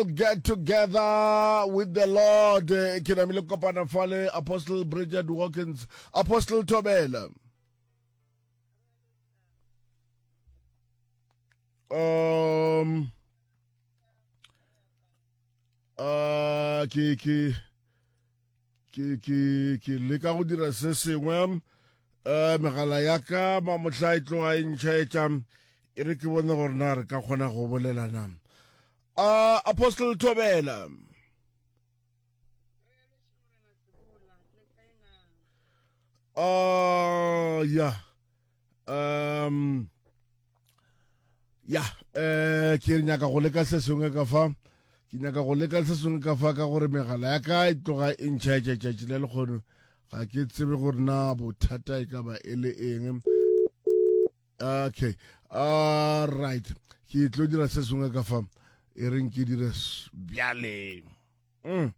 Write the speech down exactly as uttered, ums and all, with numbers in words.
all get together with the Lord. Ke namile kopana fale Apostle Bridget Watkins, Apostle Thobela. Um uh ke ke ke ke ke leka go dira se sengwe um megala ya ka mamohla e tloga e ntšhaetša e re ke bone gore na re ka kgona go bolela na. Uh, Apostle Thobela. Uh, ya. Um, ya, eh, ke nyaka go leka se sengwe ka fa. Ke nyaka go leka se sengwe ka fa ka gore megala ya ka e tloga e ntšhaetša tšatši le lekgono. Ga ke tsebe gore na bothata e ka ba e le eng. Okay. All right. Ke tlo dira se sengwe ka fa. E reng ke dire bjale. Mm.